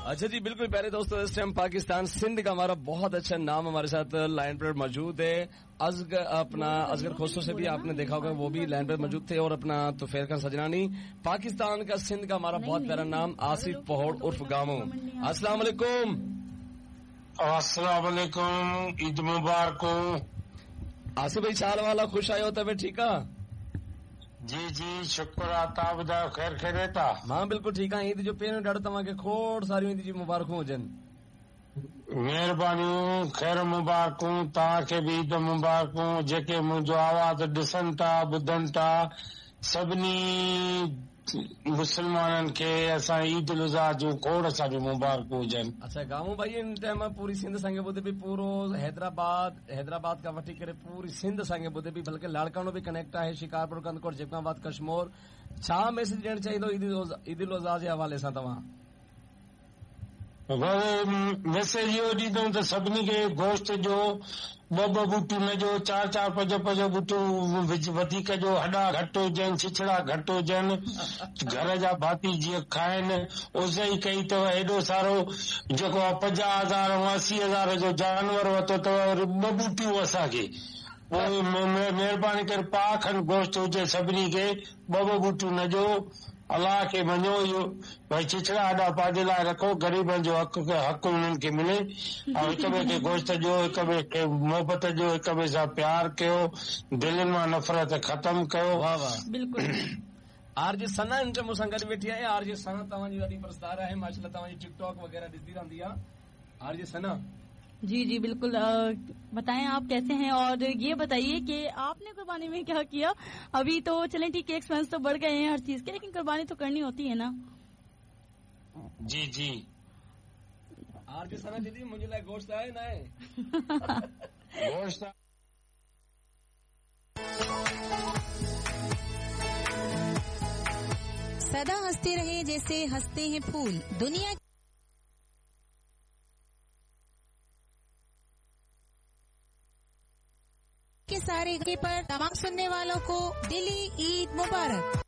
अच्छा जी, बिल्कुल प्यारे दोस्तों, इस टाइम पाकिस्तान सिंध का हमारा बहुत अच्छा नाम हमारे साथ लाइन पर मौजूद है। अजगर अपना अजगर खोसो से भी आपने देखा होगा, वो भी लाइन पर मौजूद थे। और अपना तुफैल खान सजनानी, पाकिस्तान का सिंध का हमारा बहुत प्यारा नाम आसिफ पहोड़ उर्फ गामो। अस्सलाम वालेकुम। अस्सलाम वालेकुम, ईद मुबारक हो। आसिफ भाई, छा वाला खुश आयो तबियत ठीक आहे? जी जी, शुक्र आहे, तव्हां ॿुधायो ख़ैर ख़ैरियत आहे? मां बिल्कुलु ठीक आहियां। ईद जो पहिरियों ॾाढो तव्हांखे खोड़ सारियूं ईद जी मुबारकूं हुजनि। महिरबानियूं, ख़ैर मुबारकूं, तव्हांखे बि ईद मुबारकूं। जेके मुंहिंजो आवाज़ ॾिसनि था ॿुधनि था, सभिनी मुसलमाननि खे असां ईद उल अज़हा जूं खोड़ सारियूं मुबारकूं हुजनि। अच्छा गामू भाई, इन टाइम पूरी सिंध असांखे ॿुधे पई, पूरो हैदराबाद, हैदराबाद खां वठी करे पूरी सिंध असांखे ॿुधे पई, बल्कि लाड़कानो बि कनेक्ट आहे, शिकारपुर, कंदकोट, जेकबाबाद, कश्मोर। छा मैसेज ॾियणु चाहींदो ईद उल अज़हा जे हवाले सां तव्हां? मैसेज इहो ॾींदुमि त सभिनी खे गोश्त जो ॿ ॿ बूटियूं न ॾियो, चारि चारि पंज पंज बूटियूं वधीक ॾियो, हॾा घटि हुजनि, छिछड़ा घटि हुजनि, घर जा भाती जीअं खाइनि। उस ई कई अथव, एॾो सारो जेको आहे 50,000 ऐं 80,000 जो जानवर वरितो अथव, वरी ॿ बूटियूं असांखे। पोइ महिरबानी करे पाउ खंडि गोश्त हुजे सभिनी खे, ॿ ॿ बूटियूं न ॾियो। अलाह खे मञो, इहो भई छिछड़ा हॾा पंहिंजे लाइ रखो, ग़रीबनि जो हक़ हक़ उन्हनि खे मिले। ऐं हिक ॿिए खे गोश्त ॾियो, हिक ॿिए खे मोहबत ॾियो, हिक ॿिए सां प्यार कयो, दिलनि मां नफ़रत ख़तम कयो। वाह वाह, बिल्कुलु। आरजे सना हिन टाइम मूंसां गॾु वेठी आहे। आरजे सना तव्हांजी वॾी परस्तार आहे, माशाअल्लाह, तव्हांजी टिकटॉक वग़ैरह ॾिसंदी रहंदी आहे। आरजे सना जी जी बिल्कुल, बताएं आप कैसे हैं और ये बताइए कि आपने कुर्बानी में क्या किया? अभी तो चलें ठीक है, एक्सपेंस तो बढ़ गए हैं हर चीज के, लेकिन कुर्बानी तो करनी होती है ना। जी जी। आरजे सना दीदी, मुंहिंजे लाइ गोश्त आहे न आहे? गोश्त सदा हंसते रहे जैसे हंसते हैं फूल, दुनिया के सारे के पर तमाम सुनने वालों को दिली ईद मुबारक।